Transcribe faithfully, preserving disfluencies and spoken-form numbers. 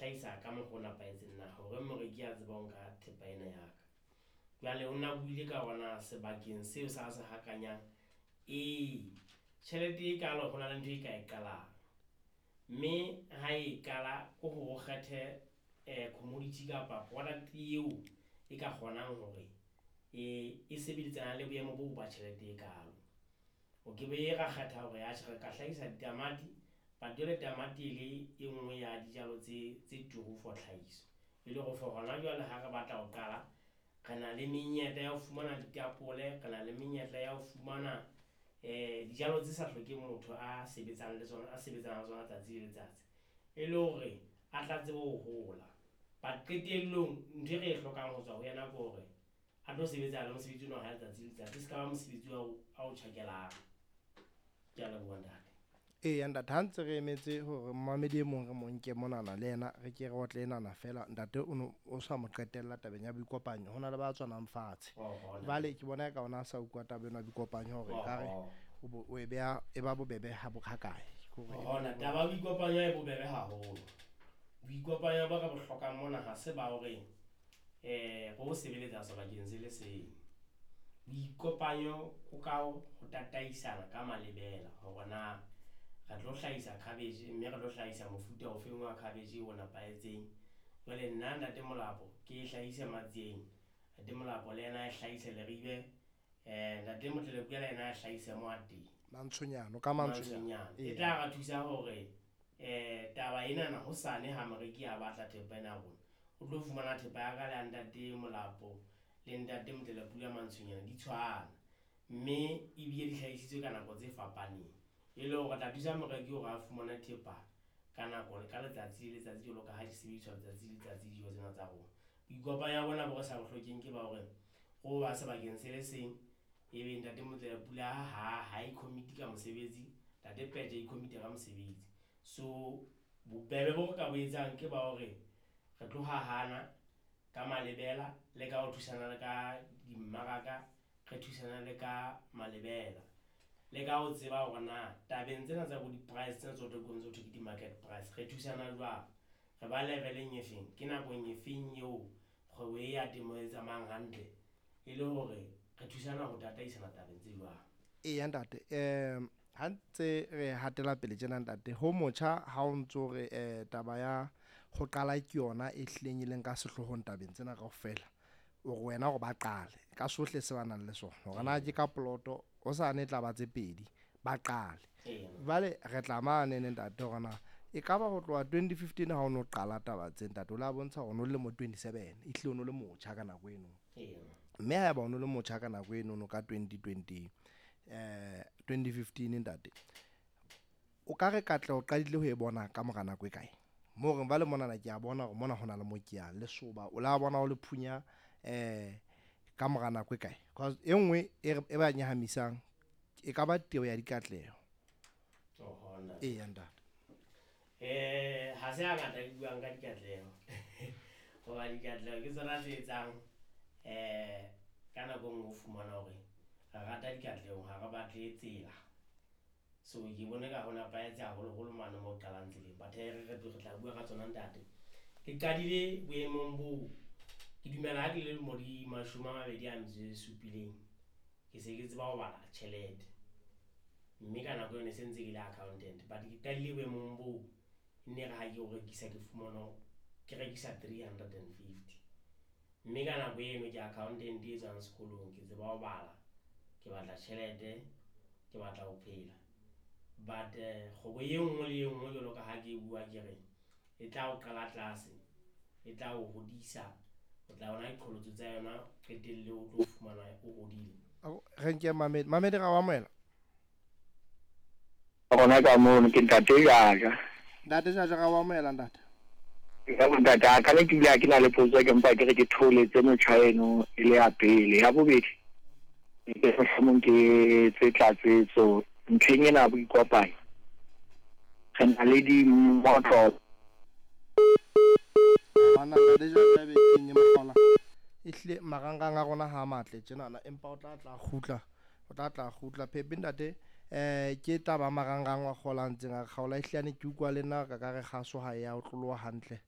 hlahisa ka mokgwa o nepahetseng na hore moreki a tseba ho nka thepa ena ya ka. Jwale o na buile ka hore sebakeng seo sa se hakanyang, ee tjhelete e kalo ho na le ntho e ka e qalang. Mme ha e qala ko hore o kgethe commodity kapa product eo e ka kgonang hore e e sebeditsana le boemo boo ba tjhelete e kalo. O ke be ra kgetha hore atjhe re ka hlahisa ditamati, but jwale tamati e le e nngwe ya dijalo tse tse turu for tlhahiso. E le hore for hona jwale ha re batla ho qala, re na le menyetla ya ho fumana ditapole, re na le menyetla ya ho fumana dijalo tse sa hlokeng motho a sebetsang le tsona, a sebetsanang le tsona tsatsi le letsatsi. E le hore a tla tsebe ho hola. But qetellong ntho e re e hlokang ho tswa ho yena ke hore a tlo sebetsa le mosebetsi ona wa hae letsatsi le letsatsi. E ska ba mosebetsi ao ao tjhakelang. Ke a leboha ntate. Eya ntate, ha ntse re emetse hore momamedi e mong re mo nke monana le yena re ke re otle enana fela ntate o no o sa mo qetella tabeng ya boikopanyo. Ho na le ba tswanang fatshe. Jwale ke bona eka ona a sa utlwa taba ena ya boikopanyo hore ekare o o e beha e ba bobebe ha ha kae. Hona taba ya boikopanyo e bobebe haholo. Boikopanyo bo re bo hlokang mona ha se ba hore re o sebeletsa sebakeng se le seng. Boikopanyo o ka ho tataisana ka malebela hore na re tlo hlahisa cabbage, mme re tlo hlahisa mofuta o feng wa cabbage o nepahetseng. Jwale nna ntate Molapo ke e hlahise Matsieng, ntate Molapo le yena a e hlahise Leribe, ntate Motlalepule le yena a hlahise mo a teng. Mantshonyane, ka mantshonyane. E tla re thusa hore taba enana hosane ha moreki a batla thepa ena ya rona, o tlo fumana thepa ya ka le ya ntate Molapo le ntate Motlalepule Mantshonyane di tshwana. Mme ebile di hlahisitswe ka nako tse fapaneng. E le hore re tla thusa moreki hore a fumane thepa ka nako ka letsatsi le letsatsi jwalo ka ha di sebediswa letsatsi le letsatsi dijo tsena tsa rona. Boikopanyo bona bo re sa bo hlokeng ke ba hore ro ba sebakeng se le seng, ebe ntate Motlalepule ha ha e commit ka mosebetsi, ntate Peje a i-commit ka mosebetsi. So bobebe bo re ka bo etsang ke ba hore re tlo hahana ka malebela le ka ho thusana le ka dimmaraka, re thusana le ka malebela. Le ka ho tseba hore na tabeng tsena tsa bo di-price tsena tse ho thwe ke di-market price, re thusana jwang. Re ba level-eng e feng, ke nakong e feng eo kgwebo e ya temo e tsamayang hantle e le hore re thusana ho tataisana tabeng tse jwang. Eya ntate, ha ntse re hatela pele tjena ntate, ho motjha ha o ntso re taba ya ho qala ke yona e hlileng e leng ka sehloohong tabeng tsena kaofela. O re wena hore ba qale ka sohle se ba nang le sona. Hore na ke ka poloto hosane e tla ba tse pedi, ba qale. Jwale re tla mane ntate hore na ekaba ho tloha twenty fifteen ha o no qala taba tse ntate, o la bontsha hore o no le lemo twenty-seven, ehlile o no le motjha ka nako eno. Mme haeba o no le motjha ka nako eno ka twenty twenty, twenty fifteen ntate, o ka re katleho o qadile ho e bona ka mora nako e kae? Moo re jwale monana ke a bona hore mona hona le mo ke yang lesoba, o la bona o le phunya ka mora nako e kae? Cause e nngwe e e ba nyahamisang e ka ba teo ya dikatleho. Eya ntate. Eh ha se hangata ke buang ka dikatleho. Hoba dikatleho ke tsona tse etsang eh ka nako e nngwe o fumana hore re rata dikatleho ha re batle tsela. So ke bone ka ho nepahetse haholoholo mane moo qalang tseleng. But hee re re tla bua ka tsona ntate. Ke qadile boemong boo ke dumela ha ke le lemo di mashome a mabedi a metso e supileng, ke se ke tseba ho bala tjhelete. Mme ka nako eo ne se ntse ke le accountant. But ke qadile boemong boo ne re ha ke o rekisa ke fumana ke rekisa three hundred and fifty. Mme ka nako eno ke accountant e tswang sekolong, ke tseba ho bala, ke batla tjhelete, ke batla ho phela. But kgwebo e nngwe le e nngwe jwalo ka ha ke bua ke re e tla o qala tlase, e tla o hodisa, o tla bona diqholotso tsa yona qetelle o tlo fumana o hodile. Re nke Mamedi, Mamedi ra o amohela. Rona ka mono ke ntate Jaja. Ntate Jaja ra o amohela ntate. Ya ntate a ka ne ke bile ke na le potso ke mpa ke re ke tholetse motjha eno e le ya pele. Ya bobedi ke mohlomong ke tse tlatsetso ntlheng ena ya boikopanyo. Re na le dimotlo. Bana ntate Jaja be kenye mohala. Ehlile marangrang a rona ha matle tjenana empa o tla tla kgutla, o tla tla kgutla Phepe ntate. Eh ke taba marangrang wa kgola ntseng a kgaola ehlile ke utlwa le nna ka ka re kgaso ha ya o tloloha hantle.